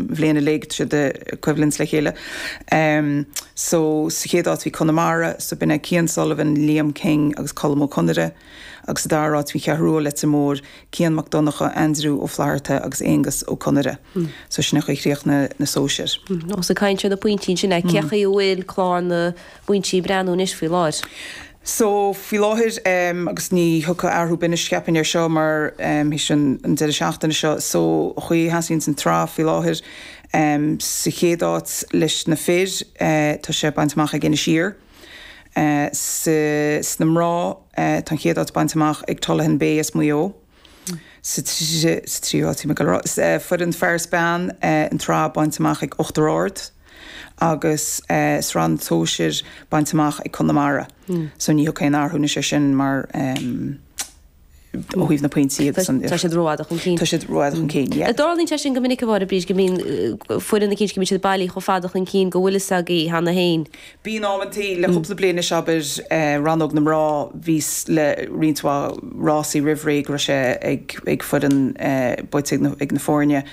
bhliain uilig, tá siad ag coimhlint le chéile. So sa chéad áit bhí Conamara, so b'in é Cian Sullivan, Liam King agus Colm Ó Conaire. Agus sa dara háit bhí Ceathrú Rua, Leitir Móir, Cian Mac Donncha, Aindriú Ó Flatharta agus Aonghus Ó Conaire. So sin é an chaoi a chríochnaigh na sóisir. Ós ag caint ar na pointí ansin, cé chaoi a bhfuil clár na bpointí ag breathnú anois faoi láthair? So, faoi láthair, agus ní thiocfaidh athrú ar bith anois cheapfainn air seo mar théis an deireadh seachtaine seo, so an chaoi a sheasaíonns an tsraith faoi láthair, sa chéad áit leis na fir, tá sé bainte amach ag Inis Oírr. Sa, sna mná, tá an chéad áit bainte amach ag Tullaghan Bay as Maigh Eo. Sa tríú háit, bhí mé ag dul a rá, foireann fear is bean, an tsraith bainte amach ag Uachtar Ard agus sraith na sóisir bainte amach ag Conamara. So ní thiocfaidh aon athrú anois air sin mar ó thaobh na pointí agus an. Tá siad rófhada chun cinn. Tá siad rófhada chun cinn, yeah. An dtarlaíonn sé sin go minic a Mháire Bríd go mbíonn foireann eicínt go mbíonn siad bailithe chomh fada chun cinn go bhfuil fhios agaibh cheana féin? Bíonn amantaí, le cúpla bliain anois, abair, rannóg na mná, bhí fhios le roinnt mhaith rásaí roimh ré go raibh sé ag foireann, buaite ag na foirne.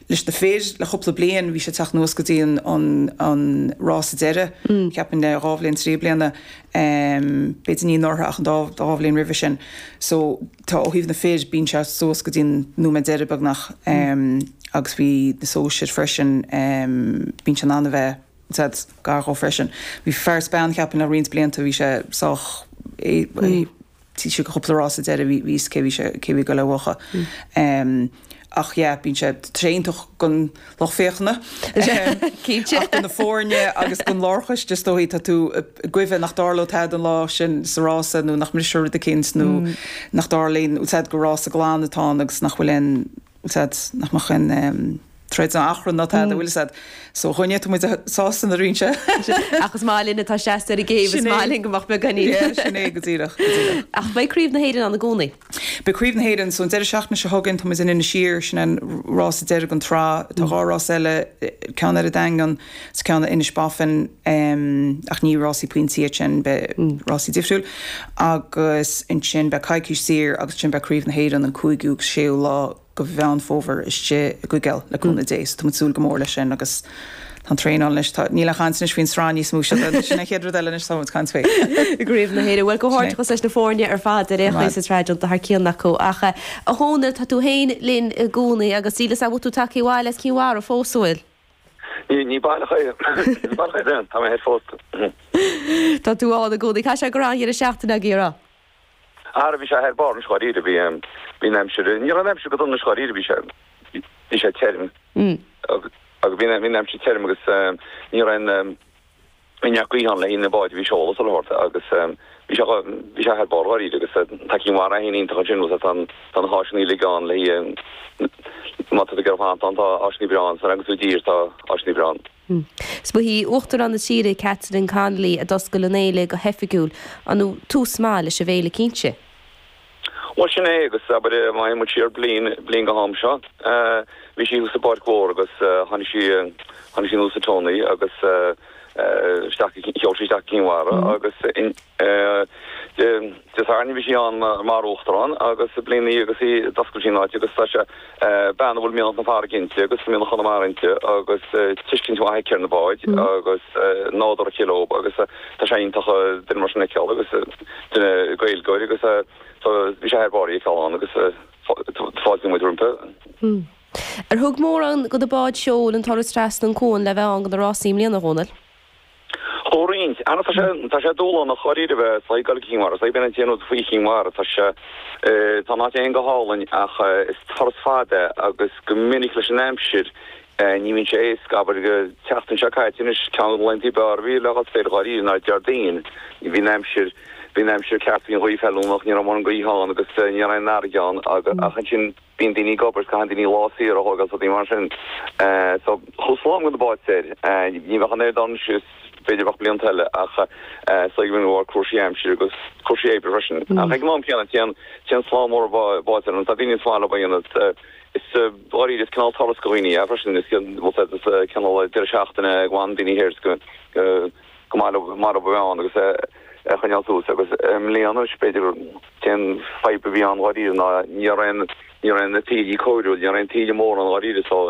Leis na fir, le cúpla bliain, bhí sé ag teacht anuas go dtí an rása deiridh, cheapfainn le dhá bhliain, trí bliana, b'fhéidir ní anuraidh ach an dá bhliain roimhe sin. So, tá, ó thaobh na fir, bíonn sé suas go dtí an nóiméad deiridh beagnach agus bhí na sóisir freisin, bíonn sé in ann a bheith, said gar dhó freisin. Bhí fear is bean cheapfainn le roinnt blianta bhí sé sách taobh istigh de chúpla rása deiridh bhí fhios cé bhí sé cé bhí ag goil a bhuachan. Ach yeah bíonn sé tá sé iontach don lucht féachana Cinnte. ach do na foirne agus don lárchoiste is dóichí tá tú ag goimh nach dtarlódh tada an lá sin sa rása nó nach mbrisfear rud eicínt nó nach dtarlaíonn said gur rása glan atá ann agus nach bhfuil aon said nach mbeadh aon troid ná achrann ná tada, bhfuil fhios a'd. So dhúinne, tá muid sásta nuair a bhíonn sé. Ach is maith linn atá seasta ar an gcéibh, is maith linn go mbeadh beagáinín. Yeah, sin é go díreach, go díreach. Ach beidh Craobh na hÉireann ann i gcónaí. Beidh Craobh na hÉireann, so an deireadh seachtaine seo chugainn tá muid in Inis Oírr, sin an rása deiridh den tsraith. Tá dhá rás eile, ceann ar an Daingean is ceann ar Inis Bofin, ach ní rásaí pointí iad sin, beidh rásaí difriúil. Agus ansin beidh coicís saor agus ansin beidh Craobh na hÉireann an cúigiú agus séú lá de Mheán Fómhair istigh i gCoigéal le cúnamh Dé. So tá muid ag súil go mór leis sin agus tá an traenáil anois, tá, níl aon chaint anois faoin sraith níos mó, sin an chéad rud eile anois atá muid ag caint faoi. Craobh na hÉireann. Bhuel, comhghairdeachas leis na foirne ar fad ar aon chaoi sa tsraith déanta thar cionn acu. Ach a Dhónaill, tá tú féin linn i gcónaí agus níl fhios a'm bhfuil tú tagtha abhaile as Cinn Mhara fós, an bhfuil? Ní baileach é. Ní baileach é, tá mé thoir fós. Tá tú ann i gcónaí. Caithfidh sé go raibh an-dheireadh seachtaine agaibh, a raibh? Ara bhí sé thar barr anois dháiríre, bhí, bhí an aimsir, ní raibh an aimsir go dona anois dháiríre, bhí sé, bhí sé tirim agus bhí an, bhí an aimsir tirim agus ní raibh aon, bhí neart gaoithe ann le haghaidh na báid a bhí ag seoladh sa phort agus bhí sé, bhí sé thar barr dháiríre agus tá Cinn Mhara féin iontach ansin agus tá an, tá na háiseanna uilig ann le haghaidh, má tá tú ag iarraidh fanacht ann tá áiseanna breá ann, san agus i dtír tá áiseanna breá ann. Is ba hí Uachtarán na tíre, Catherine Connolly, a d'oscail an fhéile go hoifigiúil. Ar ndóigh, tús maith leis an bhféile cinnte. Bhuel, sin é, agus abair, má théann muid siar bliain, bliain go ham seo, bhí sí thuas sa bPáirc Mhór agus tháinig sí, tháinig sí anuas sa tonnaí agus isteach, sheol sí isteach go Cinn Mhara agus in, Dé Sathairn bhí sí ann mar Uachtarán agus bliain ina dhiaidh agus í d'oscail sí an áit agus tá sé bean a bhfuil mianach na farraige inti agus mianach Chonamara inti agus tuiscint mhaith aici ar na báid agus nádúr aici leo agus tá sé iontach duine mar sin a fheiceáil agus duine Gaeilgeoir agus so bhí sé thar barr í a fheiceáil ann agus fáiltíonn muid roimpi. Ar thug mórán de na báid seoil an turas trasna an cuan le bheith ann do na rásaí i mbliana, a Dhónaill? Chuaigh roinnt. Ana tá sé, tá sé dúshlánach dháiríre bheith ag dul go Cinn Mhara. Is b'in an t-aon rud faoi Chinn Mhara. Tá sé, tá an áit féin go hálainn ach is turas fada é agus go minic leis an aimsir ní bhíonn sé éasca. Abair an tseachtain seo caite anois, ceann de na laethanta ab fhearr a bhí le dhul soir dháiríre ná Déardaoin. Bhí an aimsir, bhí an aimsir ceart, bhí an ghaoth feiliúnach, ní raibh mórán gaoithe ann agus ní raibh aon fharraige ann ach ansin, Bíonn daoine ag obair, caitheann daoine lá saor a thógáil is rudaí mar sin. So, chuaigh slám de na báid soir. Ní bheadh an oiread ann anois is b'fhéidir bheadh blianta eile ach is dóigh go bhfuil cúrsaí aimsire agus cúrsaí oibre freisin. Ach ag an am céanna, téann, téann slám mór báid soir. Tá daoine is maith leo a dhéanamh. Is dáiríre, is cineál turas do dhaoine é freisin. Is is cineál deireadh seachtaine a bhfanann daoine thoir is go, go maith leo, maith leo a bheith ann agus a choinneáil suas agus i mbliana anois b'fhéidir An t-aon fadhb a bhí ann dháiríre ná ní raibh aon, ní raibh na taoillí cóiriúil, ní raibh aon taoille mór ann dháiríre so.